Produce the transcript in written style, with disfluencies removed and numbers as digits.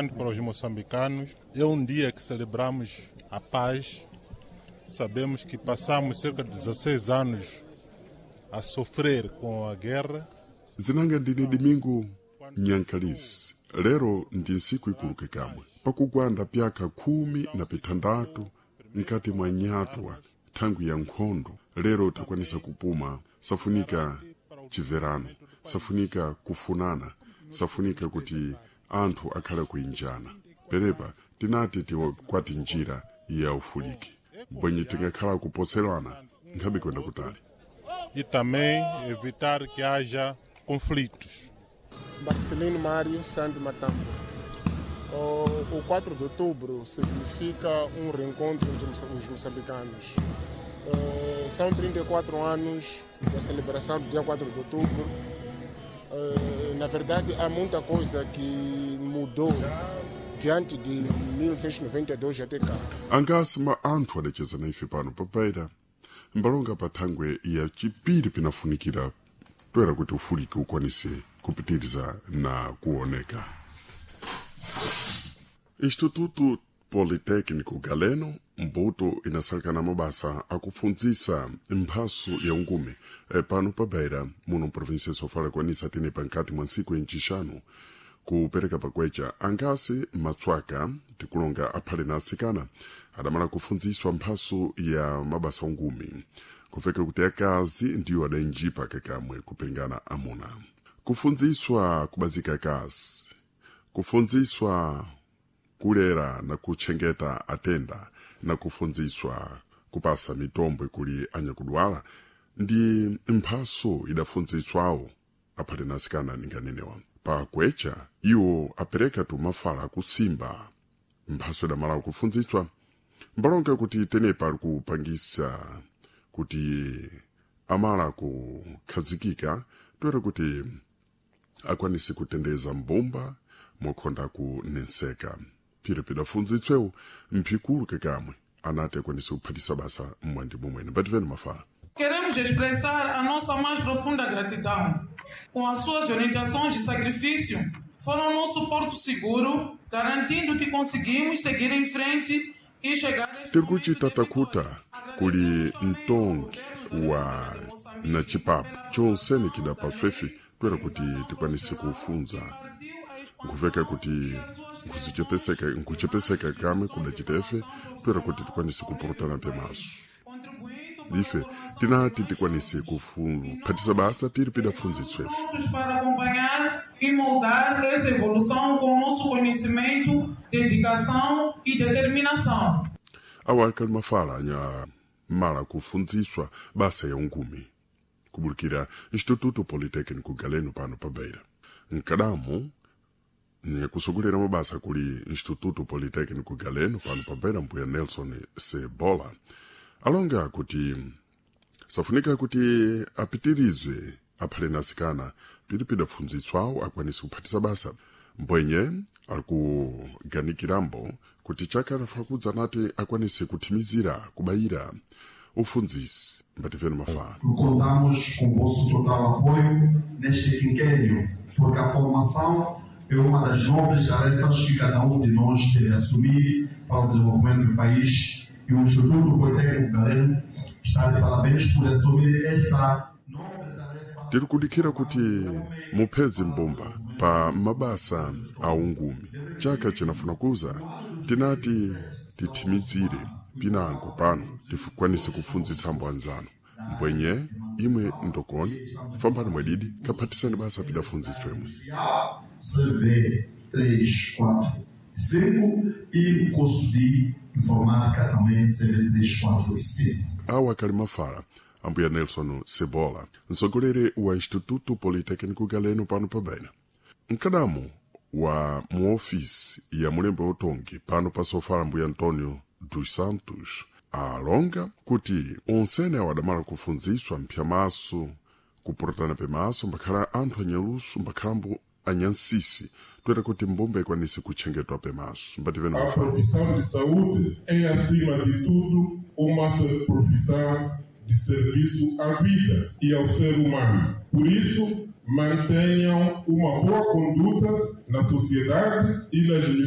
Para os moçambicanos, é um dia que celebramos a paz. Sabemos que passamos cerca de 16 anos a sofrer com a guerra. Zinanga ndine Domingo Nyankalisi. Lero ndi ntsiku ikuluke kamwe pakugwanda pyaka 16 nkati mwa nyatwa thangwi ya nkhondo. Lero takwanisa kupuma, safunika chimverano, safunika kufunana, safunika kuti anthu akhale kuinjana. Perepa tinati tikwati njira ya ufuliki mbwenye tingakhala kupotserana nkhabe kwenda kutali. E também evitar que haja conflitos. Marcelino Mário Santos Matambo. O 4 de outubro significa um reencontro entre os moçambicanos. São 34 anos da celebração do dia 4 de outubro. Na verdade, há muita coisa que mudou diante de 1992 até cá. Angasi ma anthu adacheza na ife pano papaita mbalonga pa thangwe ya chipiri pinafunikira toera kuti ufuliki ukwanise kupitiriza na kuoneka. Instituto Politécnico Galeno mbuto inasalekana mabasa akufundzisa mphaso ya ungume pano pa Beira muno mprovinsia ya Sofala kwanisa tene pankati mwa ntsiku ya ncixanu kupereka pakwecha angasi matswaka tikulonga aphale na asikana adamala kufundziswa mphaso ya mabasa ungumi kufeka kuti akazi ndiwo adainjipa kakamwe kupingana amuna kufundziswa kubazika akazi, kufundziswa kulera na kutchengeta atenda na kufundziswa kupasa mitombo kuli anyakudwala ndi mphaso idafundziswawo aphale na asikana ninganenewa. Pakwecha iwo apereka tumafala akusimba mphaso idamala kufundziswa mbalonga kuti tenepa ali kupangisa kuti amala kukhazikika toera kuti akwanise kutendeza mbumba mokhonda kunenseka. Phiri pidafundzitswewo mphikulu kakamwe anati akwanise kuphatisa basa mmwandi momwene. Mbativeni mafala. Queremos expressar a nossa mais profunda gratidão. Com as suas orientações e sacrifício, foram nosso porto seguro, garantindo que conseguimos seguir em frente e chegar a este Tiri kuti momento de tatakuta vitória. Kuli Agradecemos também ao mtongi governo da wa República de Moçambique na chipapo pela chonsene aprovação da chidapaswefe lei toera de kuti educação tikwanise profissional kufunza que partiu a nkuveka expansão kuti e a sua nkuzichepeseka extensão de nkuchepeseka mais kamwe instituições de kudachitefe formação toera kuti profissional tikwanise ao nível kupurutana do país, pemaso. contribuindo para a Ife formação de tinati mais tikwanise jovens. E kuphatisa nós basa piri estamos pidafundziswefe. prontos para acompanhar e moldar essa evolução com o nosso conhecimento, dedicação e determinação. Awa akali mafala anya mala kufundziswa basa ya ungumi kubulikira Instituto Politécnico Galeno pano pa Beira. Nkadamu nikusogolera mabasa kuli Instituto Politécnico Galeno pano pa Beira mbuya Nelson Sebola alonga kuti safunika kuti apitirizwe aphale na asikana piri pidafundzitswawo akwanise kuphatisa basa mbwenye ali kuganikirambo kuti chaka anafuna nati akwanise kuthimizira kubayira ufundzisi. Mbativeni mafala. Contamos com o vosso total apoio neste quinquênio, porque a formação é uma das nobres tarefas que cada um de nós deve assumir para o desenvolvimento do país e o Instituto Politécnico Galeno está de parabéns por assumir esta nobre tarefa. Tiri kudikira kuti muphedzi mbumba pa mabasa a ungumi chaka chinafuna kuza tinati tithimizire pinango pano tikwanise kufundzitsa anzanu mbwenye imwe ndokoni fambani mwedidi kaphatisani basa pidafundzitswemwe. CV 3, 4, 5 e o curso de Informática também CV 3, 4 e 5. Awa akali mafala ambuya Nelson Sebola, mtsogoleri wa Instituto Politécnico Galeno pano pa Beira. Mkadamu wa muofisi ya mulembe utongi pano pa Sofala mbuya Antonio dos Santos alonga kuti onsene awo adamala kufundziswa mphyamaso kupurutana pemaso mbakhala anthu anyaluso mbakhalambo anyansisi toera kuti mbumba ikwanise kutchengetwa pemaso. Mbativeni A mafala. profissão de saúde é, acima de tudo, uma profissão de serviço à vida e ao ser humano. Por isso, mantenham uma boa conduta na sociedade e nas